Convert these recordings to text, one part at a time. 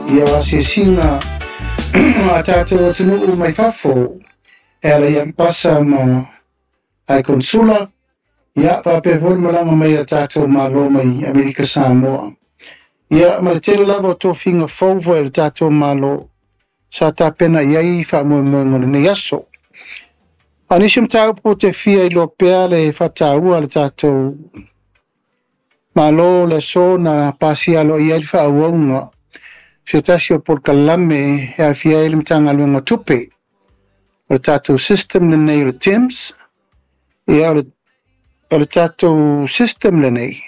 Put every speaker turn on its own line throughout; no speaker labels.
Ia, o asiasiga a tatou atunuu mai fafo e ala i Ambasa ma ai Konsula, ia, faapea foi le malaga mai a tatou Malo mai Amerika Samoa. Ia, ma le tele lava o tofiga fou foi a le tatou Malo sa tapena i ai faamoemoega o lenei aso. A o nisi o mataupu ou te fia iloa pea le faataua a le tatou Malo o le aso na pasia aloaia ai le faaauauga se tasi o polokalame e aafia ai le Matagaluega o Tupe. O le tatou system lenei o le TIMS, ia o le tatou system lenei,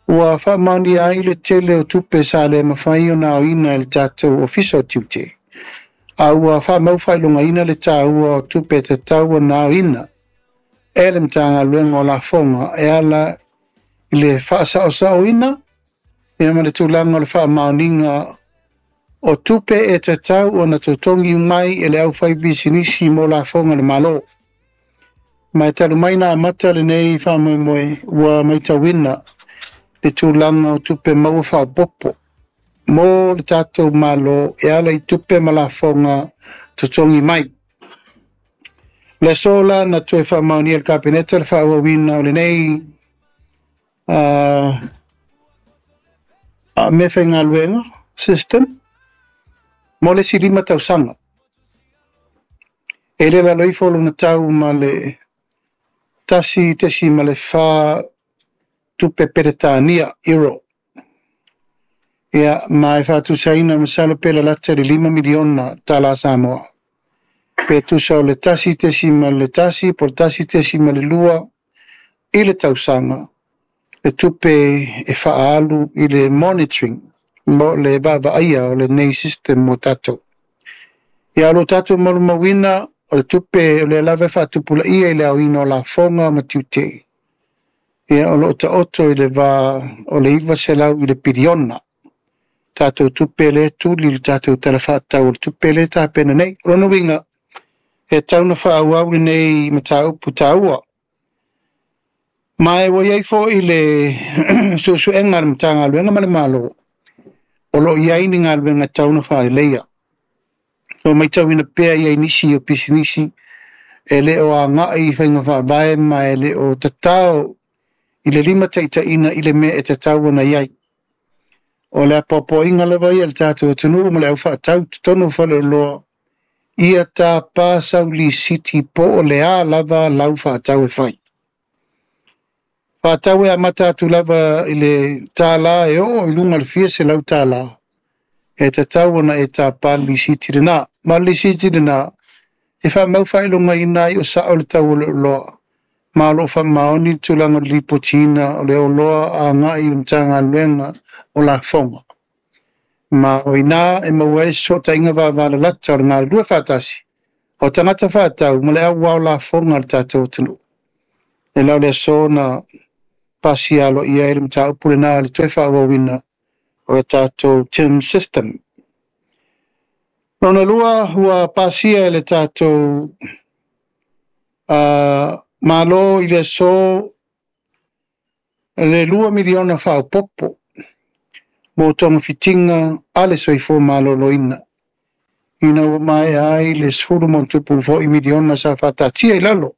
ua faamaonia ai le tele o tupe sa le mafai ona aoina e le tatou Ofisa o Tiute, a ua faamau faailogaina le taua o tupe e tatau ona aoina e le Matagaluega o Lafoga e ala i le faasaosaoina ia ma le tulaga o le faamaoniga o tupe e tatau ona totogi mai e le aufaipisinisi mo lafoga a le Malo. Ma e talu mai na amata lenei faamoemoe, ua matauina le tulaga o tupe maua faaopoopo mo le tatou Malo e ala i tupe ma lafoga totogi mai. O le aso la na toe faamaonia e le Kapeneta le faaauauina o lenei meafaigaluega system mo le isi 5 tausaga. E le lalo ifo lona tau ma le 1.4 tupe Peretania, euro. Ia, ma e faatusaina masalo pe lalata i le 5 miliona tala Samoa. Pe tusa o le 1.1 po o le 1.2 i le tausaga, le tupe e faaalu i le monitoring mo le vaavaaia o lenei system mo tatou. Ia, o lo tatou malumauina o le tupe o lea lava e faatupulaia i le aoina o lafoga ma tiute. Ia, o lo o taoto i le va o le 900 i le piliona. Tatou tupe le tuli le tatou tala faatatau o le tupe le tapena nei. O lona uiga, e tatau ona faaauau lenei mataupu taua. Ma e ua i ai foi le suesuega a le Matagaluega ma le Malo, o lo o i ai ni galuega e tatau ona faaleleia. O matauina pea i ai nisi o pisinisi e le o agai i faiga faavae ma e le o tatao i le limataitaiina i le mea e tatau ona i ai. O le apoapoaiga lava ia le tatou atunuu ma le aufaatau totonu o faleoloa, ia tapa sau lisiti po o le a lava lau faatau e fai. Faatau e amata atu lava i le $1 e oo i luga o le fia $100, e tatau ona e tapa le lisiti lena. Ma le lisiti lena, e faamau faailogaina ai o sao le tau o le oloa, ma o lo o faamaoni le tulaga o le lipotiina o le oloa agai i le Matagaluega o Lafoga. Ma o ina e maua ai le fesootaiga vavalalata o le galulue faatasi o tagata faatau ma le auao lafoga a le tatou atunuu. E la o le aso na pasia aloaia ai le mataupu lena le toe faaauauina o le tatou TIM system. Lona lua, ua pasia e le tatou Malo i le aso le 2 miliona faaopoopo mo togafitiga a le soifua maloloina, ina ua maea ai le 10+ foi miliona sa faataatia i lalo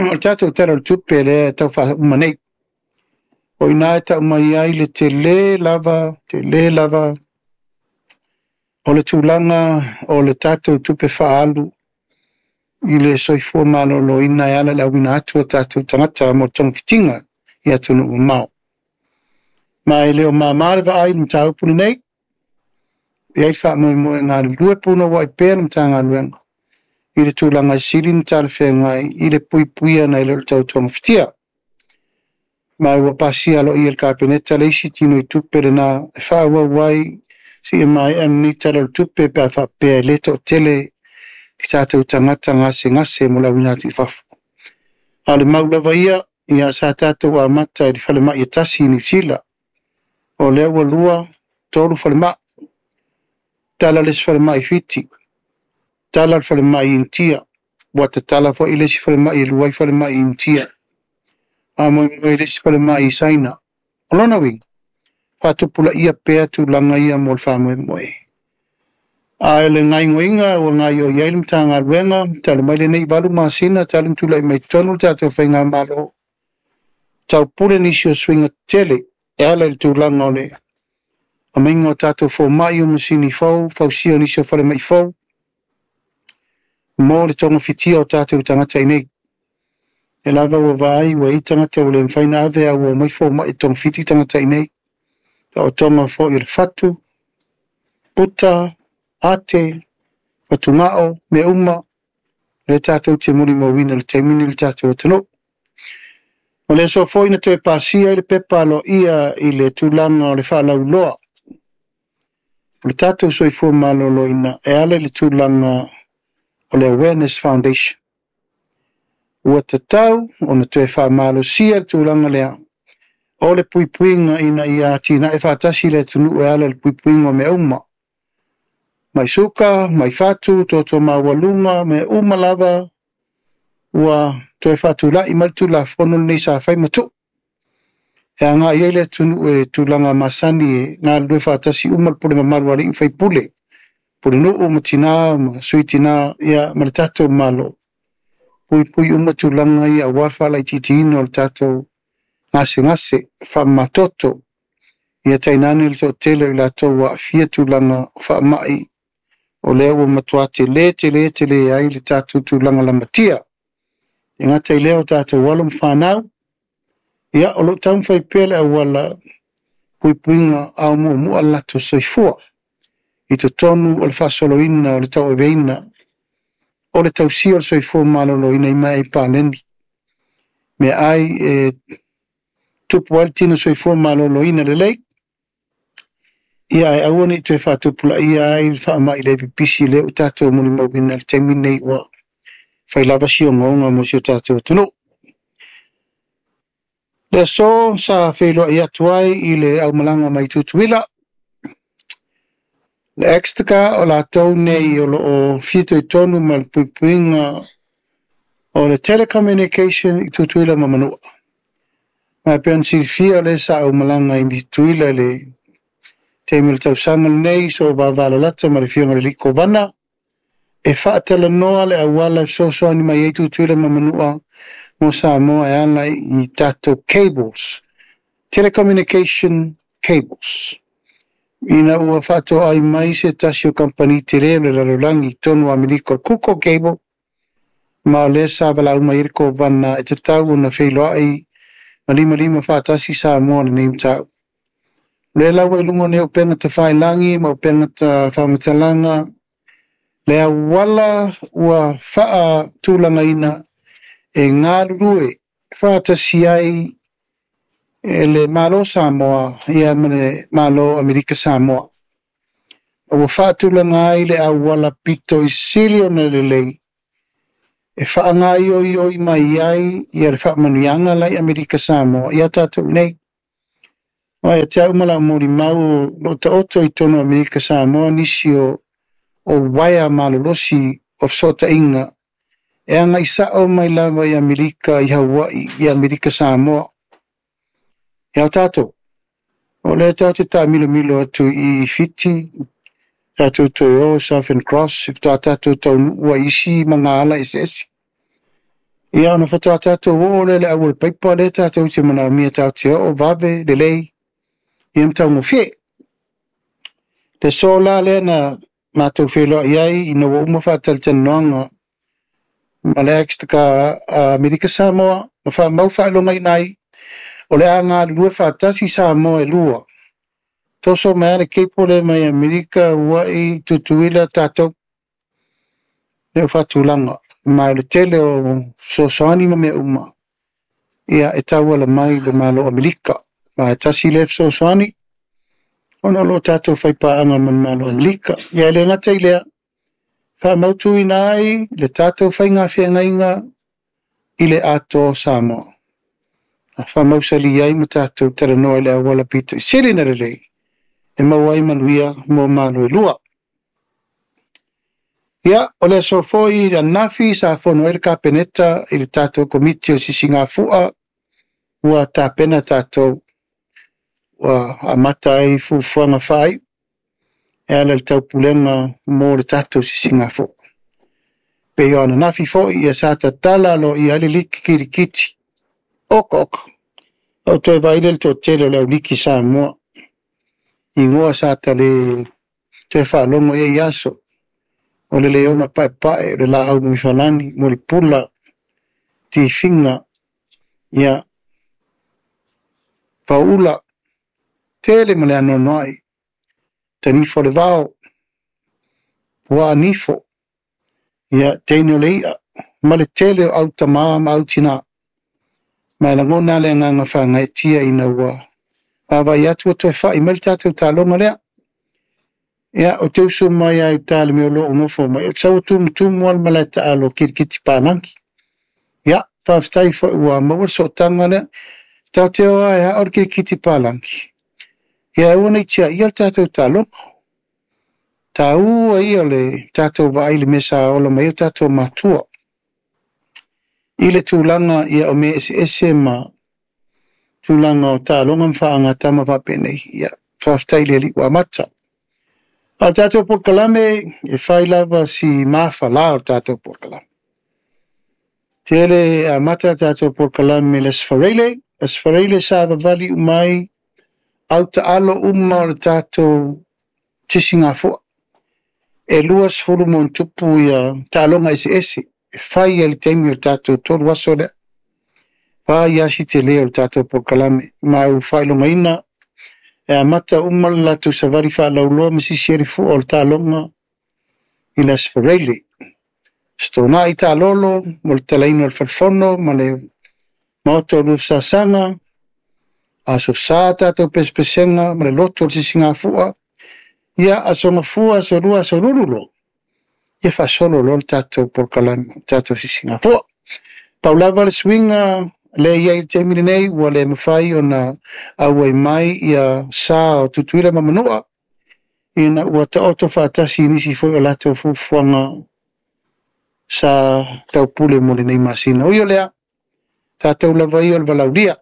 o le tatou Tala o le Tupe lea e tau faauma nei. O ina e tau mai ai le tele lava o le tulaga o le tatou tupe faaalu i le soifua maloloina e ala i le auina atu o tatou tagata mo togafitiga i atunuu mamao. Ma e le o māmā le vaai i le mataupu lenei, e i ai le faamoemoe galulue punouai pea le Matagaluega i le tulaga e sili ona talafeagai i le puipuia nai lo le tau togafitia. Ma ua pasia aloaia e le Kapeneta le isi tino i tupe lena e faaauau ai seia maea lenei Tala o le Tupe pe a faapea e le toatele i tatou tagata gasegase mo le auina atu i fafo. A o le mau lava ia, ia sa tatou amata i le falemai e tasi i Niu Sila. O lea ua 2, 3 falemai. Tala le isi falemai i Fiti, tala le falemai i Initia, ua tatala foi le isi falemai e 2 ai falemai i Initia, a moemoe le isi falemai i Saina. O lona uiga, faatupulaia pea tulaga ia mo le faamoemoe. A o le gaoioiga ua gaoioi ai le Matagaluega talu mai lenei 8 masina talu ona tulai mai totonu le tatou faigamalo, taupule nisi o suiga tetele e ala i le tulaga o le aumaiga o tatou fomai o masini fou, fausia o nisi o falemai fou mo le togafitia o tatou tagata i nei. E lava ua vaai ua i ai tagata ua le mafai ona ave a ua omai fomai e togafiti tagata i nei. Taotoga foi o le fatu, puta, ate, fatugao, mea uma, lea tatou te molimauina i le taimi lenei i le tatou atunuu. O le aso foi na toe pasia ai le pepa aloaia i le tulaga o le faalauiloa o le tatou soifua maloloina e ala i le tulaga o le Awareness Foundation. Ua tatau ona toe faamalosia le tulaga lea o le puipuiga ina ia atinae faatasi le atunuu e ala i le puipuiga o mea uma. Mai suka, mai fatu, toto maualuga, mea uma lava ua toe faatulai mai le Tulafono lenei sa fai ma tuu. E agai ai le atunuu e tulaga masani e galulue faatasi uma le pule mamalu a alii ma faipule, pulenuu ma tina ma sui tina, ia ma le tatou Malo. Puipui uma tulaga ia aua le faalaitiitiina o le tatou gasegase faamamatoto. Ia tainane le toatele o i latou ua aafia tulaga o faamai, o lea ua matua tele tele tele ai le tatou tulaga lamatia. E gata i lea o tatou alo ma fanau, ia o loo taumafai pea le auala puipuiga a o muamua le latou soifua i totonu o le faasoloina o le tauaveina o le tausia o le soifua maloloina i meaai paleni, meaai e tupu ai le tino soifua maloloina lelei, ia ae aua ne i toe faatupulaia ai le faamai le pipisi lea ua tatou molimauina i le taimi lenei ua fai lava si ogaoga mo si o tatou atunuu. Le aso sa feiloai atu ai i le aumalaga mai Tutuila, le Extica o latou nei o loo fitoitonu ma le puipuiga o le telecommunication i Tutuila ma Manua. Ma e pei ona silafia o lea sa aumalaga i Tutuila i le taimi o le tausaga lenei so vavalalata ma le afioga i le alii Kovana e faatalanoa le auala e fesoasoani mai ai Tutuila ma Manua mo Samoa e ala i tatou cables, telecommunication cables. Ina ua faatoai mai se tasi o kamupani tele o le lalolagi totonu o Amerika o le Kuko Cable, ma o lea sa valaau mai ai le Kovana e tatau ona feiloai ma limalima faatasi Samoa lenei mataupu. O lea la ua i luga o nei upega tafailagi ma upega faamatalaga, le auala ua faatulagaina e galulue faatasi ai e le Malo Samoa ia ma le Malo Amerika Samoa. Ua faatulaga ai le auala pito i sili ona lelei e faagaoioi mai ai ia le faamanuiaga la i Amerika Samoa ia tatou nei. Aua ia te au ma lau molimau o loo taoto i totonu o Amerika Samoa nisi o uaea malolosi o fesootaiga e agai sao mai lava i Amerika, i Hawaii, i Amerika Samoa. Ia o tatou, o lea tatou te taamilomilo atu i Fiti, tatou toe o Southern Cross, e faatoa tatou taunuu ai i isi magaala eseese. Ia ona faatoa tatou oo lea i le auala paipa lea tatou te manaomia tatou te oo vave lelei ia ma taugofie. Le aso la lea na matou feiloai ai ina ua uma faatalatalanoaga ma le Extica Amerika Samoa ma faamau faailogaina ai o le a galulue faatasi Samoa e lua. Toso mai lava le cable lea mai Amerika Hawaii Tutuila tatou lea ua faatulaga ma o le tele o fesoasoani ma mea uma ia e tauala mai i le Malo o Amerika. Ma e tasi lea fesoasoani ona o loo tatou faipaaga ma le Malo o Amerika. Ia e le gata i lea, faamautuina ai le tatou faiga feagaiga i le atoa o Samoa. Faamausali ai ma tatou talanoa i le auala pito i sili na lelei e maua ai manuia mo malo e lua. Ia, o le aso foi ananafi sa fono ai le Kapeneta i le tatou Komiti o Sisigafua ua tapena tatou. ua amata ai fuafuaga faaiu e ala i le taupulega mo le tatou sisigafua. Pei o ananafi foi ia sa tatala aloaia ai le liki kirikiti. Oka oka, ou toe vaai lea i le toatele o le au liki Samoa, igoa sa ta le toe faalogo i ai i aso, o le Leona Paepae, o le Laau Muifalani, Mulipula, Tifiga, ia, Pauula, tele ma le anoanoai, Tanifo o le Vao, Puaa Nifo, ia, teine o le i'a, ma le tele o au tamā ma au tinā. Ma e lagona le agaga faagaeetia ina ua vaavaai atu ua toe fa'i mai le tatou taaloga lea. Ia, ou te usu mai lava i uta i le mea o lo o nofo mai, ou te sau e tumutumu lava le malae taalo kirikiti palagi. Ia, faafetai foi ua maua le sootaga lea. Tatou te o lava e ao le kirikiti palagi. Ia, aua ne i tiaia le tatou taaloga. Taua ia o le tatou vaai i le mea sa ola mai ai o tatou matua. I le tulaga ia o mea eseese ma tulaga o taaloga ma faagatama faapenei. Ia, faafetai i le Alii ua amata. A o le tatou polokalame, e fai lava si mafala o le tatou polokalame. Tele amata le tatou polokalame i le Aso Faraile. Aso Faraile sa vavali uma ai au taalo uma o le tatou sisigafua. E 20 ma ona tupu ia taaloga eseese e fai ai le taimi o le tatou 3 aso lea. Fai lava si tele o le tatou polokalame. Ma ua faailogaina e amata uma le latou savali faalauloa ma sisi ai le fua o le taaloga i le Aso Faraile. Stona'i taalolo mo le talaina o le falefono ma le maota o Luafesasaga. Aso Sa tatou pesepesega ma le loto o le sisigafua. Ia, aso Gafua, aso Lua, aso Lulu loa. Ia faasolo loa le tatou polokalame, le tatou sisigafua. Pau lava le suiga lea e i ai i le taimi lenei, ua le mafai ona auai mai ia sa o Tutuila ma Manua, ina ua taoto faatasi i nisi foi o latou fuafuaga sa taupule mo lenei masina. Ui o lea, tatou lava ia o le valaulia.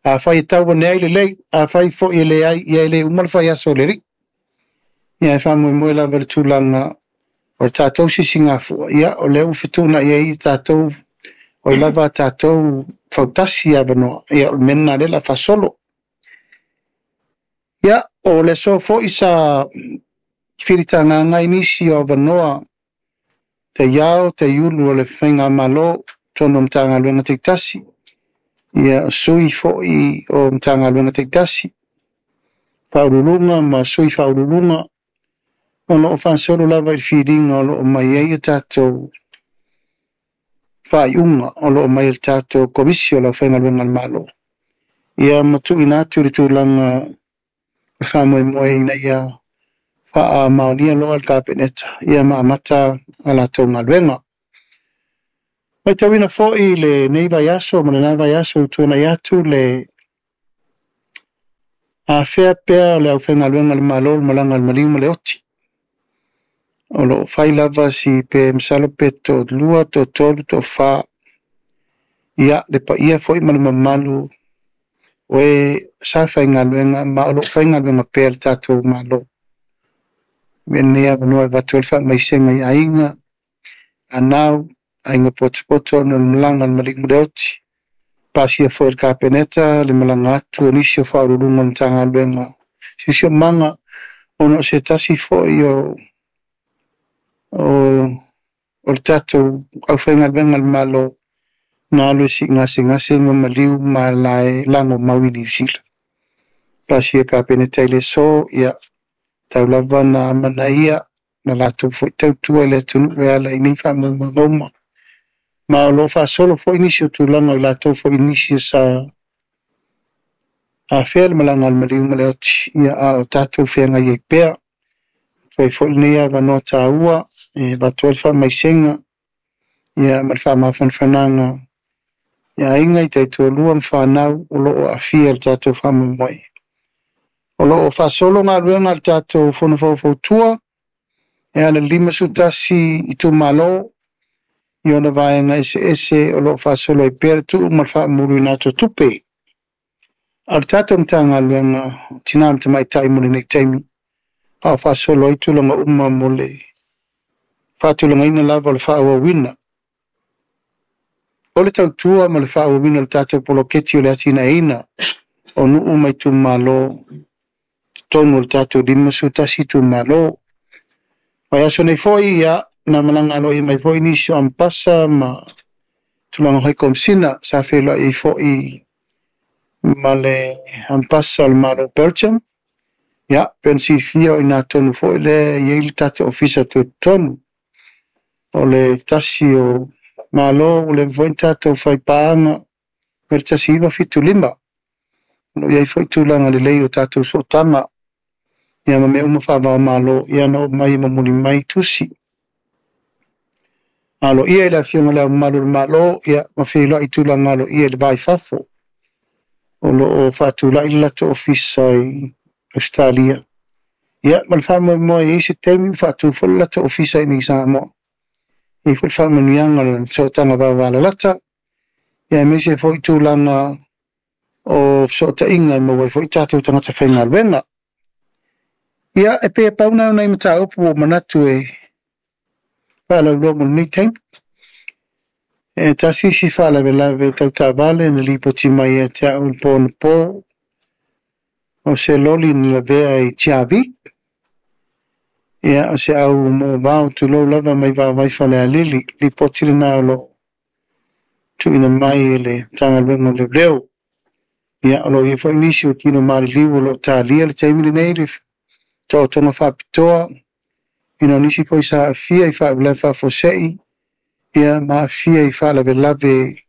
Afai e tau ane ai lelei, afai foi e leai, ia e le uma le faiaso o le Alii. Ia e faamoemoe lava i le tulaga o le tatou sisigafua, ia o lea ua fetuunai ai tatou, oi lava a tatou fautasi avanoa, ia o le mea lena lea o le a faasolo. Ia, o le aso foi sa filitagaga ai nisi o avanoa taiao, taiulu o le faigamalo, totonu o Matagaluega taitasi, ia sui foi o Matagaluega taitasi, faauluuluga ma sui faauluuluga, o lo o faasolo lava i le filiga o lo o mai ai o tatou faaiuga o lo o mai e le tatou Komisi o le Aufaigaluega a le Malo. Ia ma tuuina atu le tulaga o le faamoemoe ina ia faamaonia loa le Kapeneta ia ma amata a latou galuega. Matauina foi lenei vaiaso ma lena vaiaso ua tuanai atu le afea pea o le aufaigaluega a le Malo le malaga a le maliu ma le oti. O lo o fai lava si pe masalo pe toalua, toatolu, toafa. Ia, le paia foi ma le mamalu o e sa faigaluega ma o lo o faigaluega pea le tatou Malo. Avea lenei avanoa e avatu ai le faamaisega i aiga, anau, aiga potopoto ona o le malaga a le maliu ma le oti. Pasia foi e le Kapeneta le malaga atu o nisi o faauluuluga o le Matagaluega Siosiomaga ona o se tasi foi o le tatou aufaigaluega a le Malo na alu e siigasegase ma maliu ma lae lagomau i Niu Sila. Pasia e le Kapeneta i le aso, ia, tau lava na amanaia na latou foi tautua i le atunuu e ala i nei faamoemoega uma. Ma o lo o faasolo foi nisi o tulaga o i latou foi nisi o sa afea le malaga a le maliu ma le oti, ia a o tatou feagai ai pea. Atu ai foi lenei avanoa taua e avatu ai le faamaisega ia ma le faamafanafanaga i aiga i taitoalua ma fanau o lo o aafia i le tatou faamoemoe. O lo o faasolo galuega a le tatou Fono Faufautua e ala i le 51 itumalo i ona vaega eseese o lo o faasolo ai pea le tuu ma le faamuluina atu o tupe. A o le tatou Matagaluega o Tina ma Tamaitai mo lenei taimi, a o faasolo ai tulaga uma mo le faatulagaina lava o le faaauauina o le tautua ma le faaauauina o le tatou poloketi o le atinaeina o nuu ma itumalo totonu o le tatou 51 itumalo. Vaiaso nei foi, ia, na malaga aloaia mai foi nisi o Ambasa ma tulaga hai Komesina sa feiloai ai foi ma le Ambasa o le Malo o Belgium. Ia, pei ona silafia o i ina tonu foi lea e i ai le tatou Ofisa Tutotonu. O le tasi o Malo ua leva foi ona tatou faipaaga mai le 1975. O lo o i ai foi tulaga lelei o tatou sootaga, ia ma mea uma faava-o-Malo, ia na oo mai e momoli mai tusi aloaia i le Afioga i Le Ao Mamalu o le Malo, ia ma feiloai i tulaga aloaia i le va i fafo. O lo o faatulai le latou ofisa i Ausetalia, ia ma le faamoemoe e i ai se taimi ua faatu foi le latou ofisa i inei i Samoa. E i ai foi le faamanuiaga o le sootaga vavalalata, ia aemaise foi tulaga o fesootaiga e maua ai foi tatou tagata faigaluega. Ia, e pei e pau na o nai mataupu ua ou manatu e faalauiloa mo lenei taimi. E tasi isi faalavelave tau taavale na lipoti mai ia te au i le po anapo, o se loli na lavea i Tiavi. Ia, o se au moovao tulou lava mai Vaovai Falealili, lipoti lena o lo o tuuina mai e le Matagaluega o Leoleo. Ia, o lo o i ai foi nisi o tino maliliu o lo o talia le taimi lenei le taotoga faapitoa, ina o nisi foi sa aafia i faalavelave faafuasei, ia ma aafia i faalavelave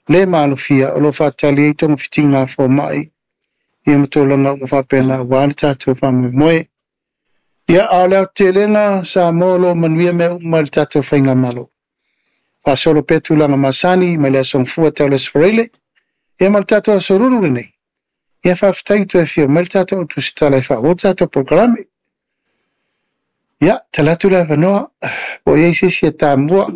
le maalofia, o lo o faatali ai togafitiga a fomai, ia ma tulaga uma faapena aua le tatou faamoemoe. Ia, a o le aotelega, Samoa, o lo o manuia mea uma i le tatou faigamalo. Faasolo pea tulaga masani mai le Aso Gafua tau le Aso Faraile, ia ma le tatou Aso Lulu lenei. Ia faafetai ua toe afio mai le tatou tusitala e faaauau le tatou polokalame. Ia, tala atu le avanoa, po o i ai se isi e tamua.